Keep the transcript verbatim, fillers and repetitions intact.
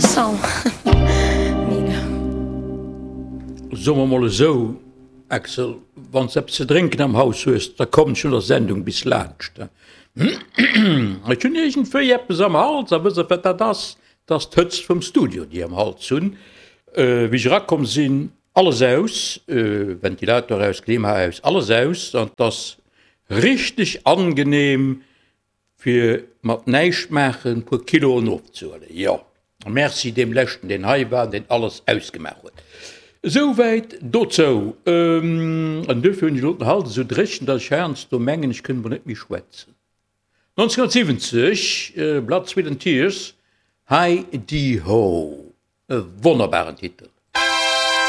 Song. Mega. Soe mer mol esou, Axel, wann s de eppes ze drénken am Haus hues, da komm ech no der Sendung bis laanscht. Ech hunn iergendwéi eppes am Hals a wësst der wat dat ass? Dat ass d'Hëtzt vum Studio, déi ech am Hals hunn. Wéi ech erakomm sinn, alles aus, Ventilator aus, Klima aus, alles aus an 't ass richteg angenehm fir mat näischt maachen puer Kiloen ofzehuelen. Jo, merci deem leschten deen hei war an deen alles ausgemaach huet. Esouwäit dozou. An duerfir hunn ech elo den Hals esou dréchen, datt ech heiansdo mengen ech kënnt mol net méi schwätzen. nonzénhunnertsiwwenzeg, Blood, Sweat and Tears, Hi Di Ho, e wonnerbaren Titel.